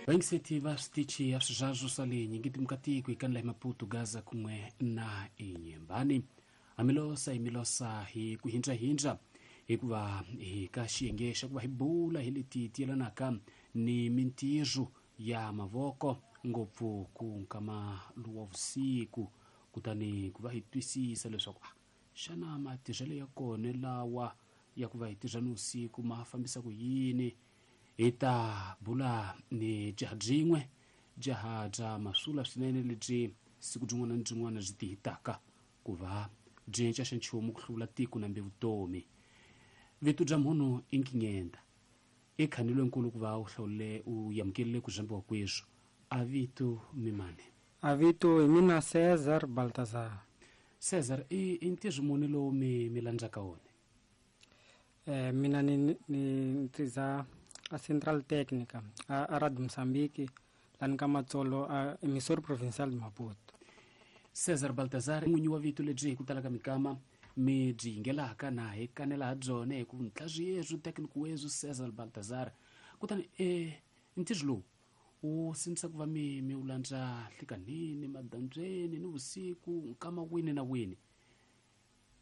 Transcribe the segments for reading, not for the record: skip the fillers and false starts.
Vayingiseti va switichi ya swizazo swa le nyingitimka tiko hi kanela hi Maputo, Gaza kun'we na eNyembani. Amilosa hi milosa hi ku hindzahindza hikuva hi ka xiyenge xa ku va hi bula hi leti ti yelanaka ni mintirho ya mavoko ngopfu ku nkama lowa vusiku, kutani ku va hi twisisa leswaku xana matirhelo ya kona lawa ya ku va hi tirha ni vusiku ma fambisa ku yini. Hi ta bula ni jaha byin'we, jaha bya masula swinene lebyi siku byin'wana ni byin'wana byi tihitaka ku va byi cinca xa nchumu ku hluvula tiko nambe vutomi. Vito bya munhu i Nkinyenda, i khanilwe nkulu ku va u hlawule u yamukelile ku zambiwa kweswo. A vito mimani? A vito hi mina Cesar Baltazar. Cesar, i ntirho muni lowu mi landzaka wona? Mina ni ntirha a Central Técnica a Radio Mozambique lani ka Matsolo a Emissor Provincial de Maputo. Cesar Baltazar, n'winyi wa vito lebyi hi ku tala ka mikama mi byi yingelaka na hi kanela ha byona hi ku ntlazwi technical wezwi Cesar Baltazar. Kutani ntirho lowu wu sindzisa ku va mi wu landza nhlikanhini, madyambyeni ni vusiku, nkama wini na wini.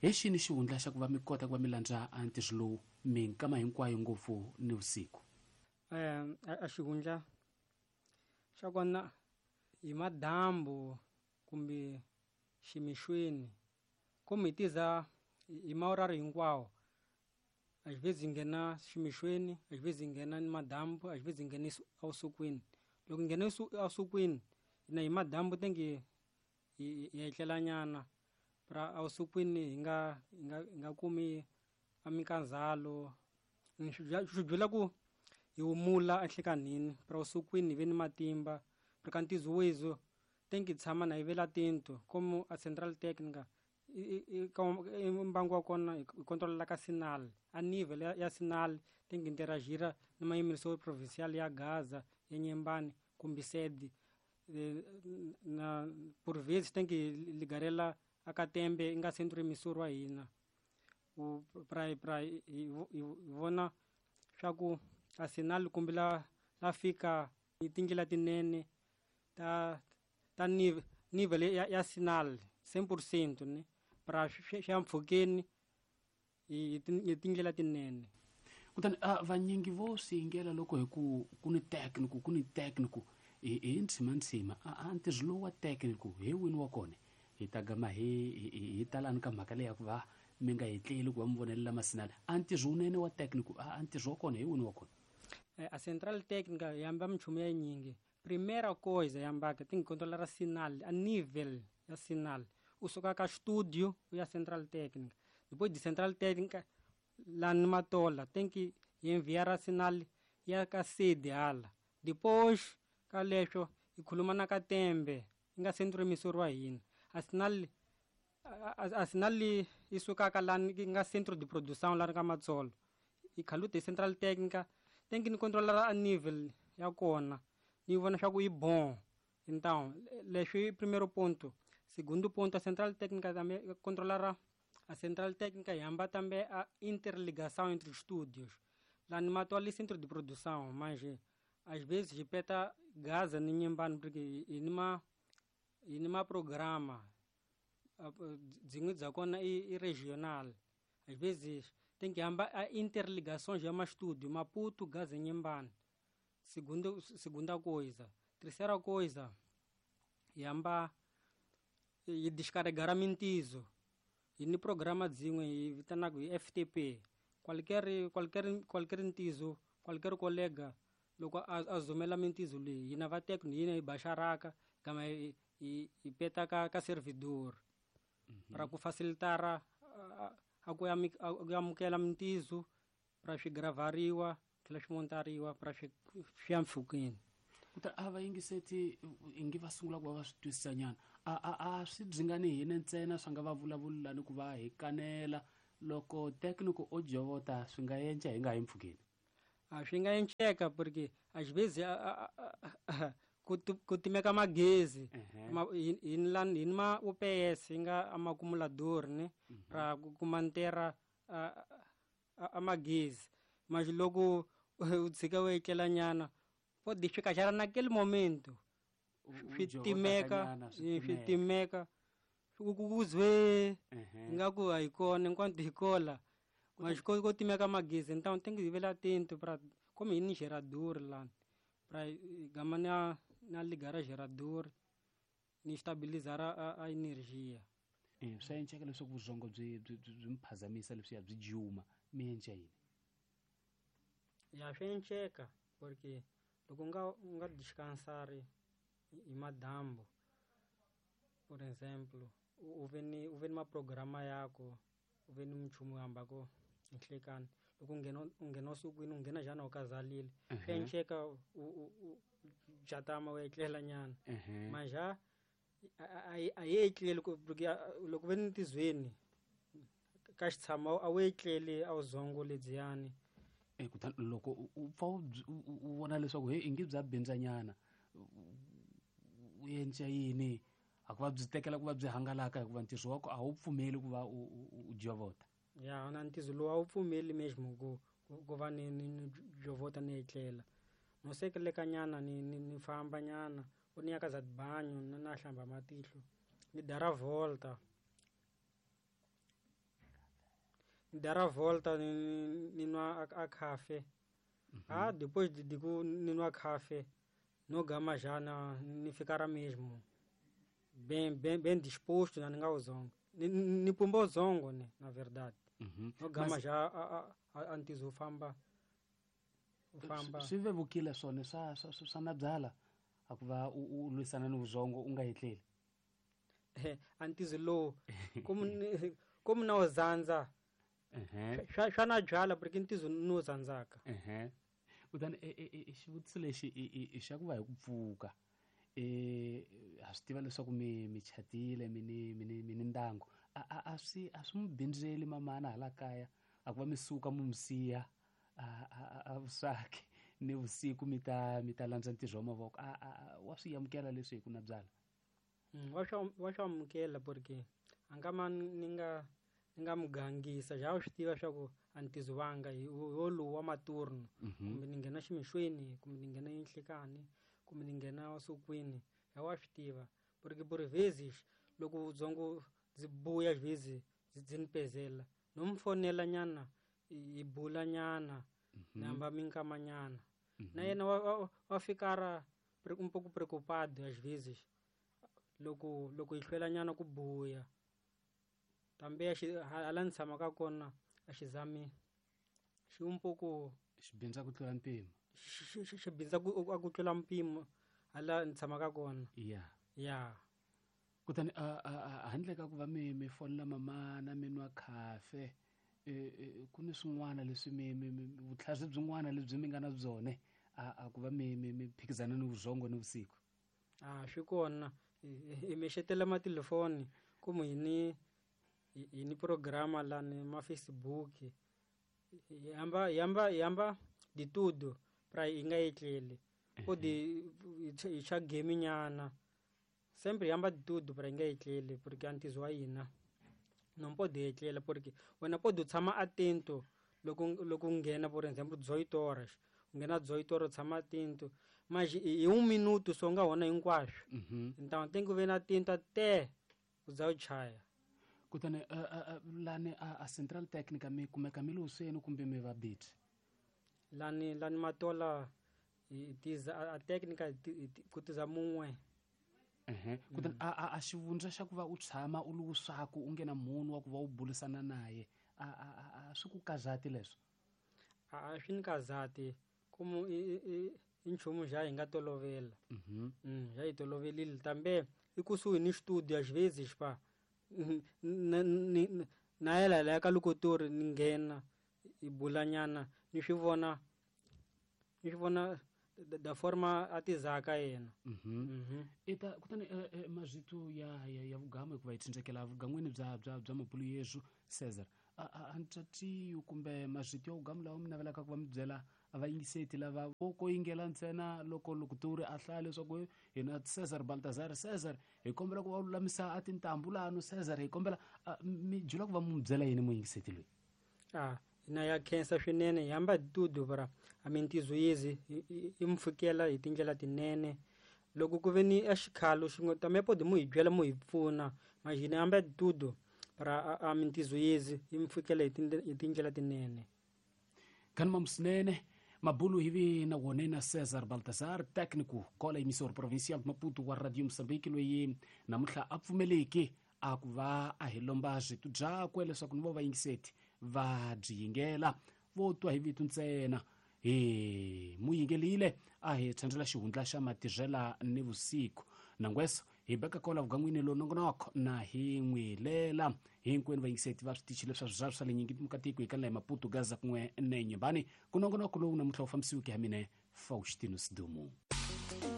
Hi xini xihundla xa ku va mi kota ku va mi landza a ntirho lowu minkama hinkwayo ngopfu ni vusiku? A xihundla xa kona hi madyambu kumbe ximixweni, kumbe hi tiza hi maurari hinkwawo. A xi vhezi nghena ximixweni, a xi vhezi nghena ni madyambu, a xi vhezi nghena evusikwini. Loko nghena evusikwini, hina hi madyambu tenge hi etlela nyana, pra evusikwini hi nga kumi a mikandzalo. Swi byela ku hi humula enhlekanhini, pra evusikwini hi ve ni matimba. Pra ka ntizo wezo tenge tshama na hi vela tinto como a Central Técnica i mbangu wa kona hi controla ka sinal, a nível ya sinal tem que interagir numa emissora provincial ya Gaza, ya Nyembani, kumbe sede. Na por vezes tem que ligarela a Katembe nga centro emissor wa hina. U pra hi vona swa ku a sinal kumbe la fika hi tindlela tinene ta nível ya sinal 100% ne pra swa mpfhukeni hi tindlela tinene. Kutani vanyingi vo swi yingela loko hi ku ku ni technical, ku ni technical hi ntshima ntshima, a ntirho lowu wa technical hi wini wa kona. Hi ta gama hi talani ka mhaka leyi ya ku va mi nga hetleli ku va mi vonelela masinala. A ntirho wunene wa technical, a ntirho wa kona hi wini wa kona? A Central Técnica yi hamba minchumu ya yinyingi. Primeira coisa ya mbaka tem que controlar a sinal, a nível ya sinal. U suka ka studio u ya Central Técnica. Depois de Central Técnica lá no Matola tem que enviar a sinal ya ka sede hala. Depois ka leswo hi khuluma na Katembe nga centro emissor wa hina. A sinal a sinal yi suka ka la nga centro de produção la ka Matsolo. Hi khalute Central Técnica tem que ni controlar a nível ya kona. Ni vona swa ku i bon. Então, leswi primeiro ponto. Segundo ponto, a Central Técnica também controlará. A Central Técnica e hamba também a interligação entre os estúdios. Lá no Mato ali centro de produção, mas às vezes repeta Gaza ni Nyembani porque e numa programa dzin'we dza kona i regional. Às vezes tem que hamba a interligação já mais estúdio, Maputo, Gaza e Nyembani. Segunda coisa. Terceira coisa, yamba e descarregar a mintizo. E no programa dzin'we hi vitanaka hi FTP. Qualquer ntizo, qualquer colega loko a zumela mintizo leyi, hina va technical hina hi baxaraka kama hi peta ka servidor. Para ku facilitar a ku amukela mintizo para swi gravariwa tlhela swi montariwa para swi ya mpfhukeni. Kutani a va yingiseti ingi va sungula ku va va swi twisisa nyana. A swi dzingani hina ntsena swa nga va vulavula ni ku va hi kanela loko technical o jovota swi nga yenca hi nga yi mpfhukeni. A swi nga enceka porque às vezes ku timeka magezi. Hi ni ma UPS yi nga amaccumulador ne pra ku mantera a magezi. Mas loko u tshika u etlela nyana Pode ficar já naquele momento. U Swi jovota timeka, kanyana, swi swi timeka. Timeka. Ku zwe Ehe. ingaku a hi kona enquanto hi kola. Mas ko timeka magezi, então tem que ver atento para como ir no gerador lá, para gama na ligar a gerador, ni estabilizar a energia. Swa enceka leswaku vurhongo byi mi phazamisa leswiya byi juma mi enca yini? Ya, swi enceka porque loko u nga descansar hi madyambu, por exemplo, u ve ni maprograma yako, u ve ni minchumu yo hambako hi nhlekani, loko u nghena usukwini, u nghena njhani u kazalile, swi enceka u jatama u etlela nyana. Maja a yi etleli porque loko ve ni tizweni ka xitshama a wu etleli a wu zongo ledziyani. Kutani loko u pfa u vona leswaku he ingi bya bindzanyana, u enca yini a ku va byi tekela ku va byi hangalaka, hikuva ntirho wa ko a wu pfumeli ku va u jovota? Ya, na ntizo lowu a wu pfumeli mesmo ku va ni jovota ni etlela, no sekeleka nyana, ni famba nyana, u ni ya ka za banyo, na hlamba matihlo, ni dara volta, ni dara volta, ni nwa a café. Ah, depois de ku ni nwa café, no gama já na ni ficar mesmo bem bem bem disposto, na ni nga uzongo ni pumba uzongo, ne, na verdade. No gama já a ntizo u famba. Swi vevukile swona swa na byala a ku va u lwisana ni vuzongo u nga etleli? A ntizo lowu como na uzandza swa na byala porque ntizo ni wu zandzaka. Ehe. Kutani xivutiso lexi i xa ku va hi ku pfuka, ha swi tiva leswaku mi chatile, mi ni ndyangu, a swi mi bindzeli mamana hala kaya a ku va mi suka mi siya a vuswaki ni vusiku mi ta landza ntirho wa mavoko? A wa swi amukela leswi hi ku na byala? Wa swi amukela porque a nga ma ni nga mu gangisa, ja u swi tiva swa ku a ntizo wanga hi wolowu wa maturno, kumbe ni nghena ximixweni, kumbe ni nghena enhlekani, kumbe ni nghena usukwini, ya wa swi tiva porque por vezes loko dzongo byi buya vezes byi ni pezela, no mu fonela nyana, hi bula nyana, ni hamba minkama nyana na yena, wa fikara un pouco preocupado às vezes loko hi hlwela nyana ku buya. Tambe hala ni tshamaka kona a xi zami xi un pouco Xi bindza ku tlula mpimo. Xi bindza ku tlula mpimo hala ni tshamaka kona. Ya. Ya. Kutani handle ka ku va mi fonela mamana, mi nwa khafe, ku ni swin'wana leswi mi vutlhari byin'wana lebyi mi nga na byone a ku va mi phikizana ni vurhongo ni vusiku? A swi kona, hi mixetela matelefoni, kumu hi ni programa lani ma Facebook, hi hamba de tudo pra hi nga etleli, pode hi cha game nyana, sempre hi hamba de tudo pra hi nga etleli, porque a ntizo wa hina não pode etlela, porque wena pode u tshama atento loko u nghena, por exemplo, 18 horas, u nghena 18 horas, u tshama atento, mas hi un minuto so nga wona hinkwaswo. Então tem que ver atento até u za u chaya. Kutani lani a central technica mi kumeka mi le kumbe mi va biti? Lani Matola hi tiza a técnica ku tiza mun'we. Ehe. Kutani a xivundza xa ku va u tshama u ri wuswaku, u nge na munhu wa ku va u burisana naye, a swi ku kazati leswo? A swi ni kazati, como i nchumu xa hi nga tolovela. Ja hi tolovelile, tambe i kusuhi ni studio, às vezes pa na yela laya ka lokotori, ni nghena hi bula nyana, ni swi vona da forma a tizaka yena. Ita kutani mazvito ya vugamu, hikuva hi tsindzekela vugan'wini bya mabulu yesu Cesar, a ntsatiyo kumbe mazvito ya vugamu lawa mi navelaka ku va mi byela a vayingiseti lava vo ko yingela ntsena loko lokutori a hlaya leswaku hina Cesar Baltazar, Cesar hi kombela ku va lulamisa a tintambu lano, Cesar hi kombela mi jula ku va mu byela yini muyingiseti loyi? Ah, Hina ya khensa swinene hi hamba hi tudo para a mintizo yezi yi mi fikela hi tindlela tinene. Loko ku ve ni a xikhalo xin'we também pode mu hi byela mu hi pfuna, mas hina hamba hi tudo para a mintizo yezi yi mi fikela hi tindlela tinene. Khanima musinene mabulu hivi na wone na César Baltazar, técnico kola emissor provincial de Maputo wa Radio Moçambique, loyi namuntlha a pfumeleki a ku va a hi lomba switu byakwe leswaku ni vo vayingiseti va byi yingela vo twa hi vito ntsena. Hi mu yingelile a hi tshwandzela xihundla xa matirhela ni vusiku nangweso hi beka kola vugan'wini lo nongonoko na hi n'wi lela hinkwenu vayingiseti va switichi leswa swizaru swa le nyingi mukatiko hi kanela hi Maputo, Gaza kun'we ne Nyembani. Ku nongonoko lowu namuntlha wu fambisiweke ha mine Faustino Sidumo.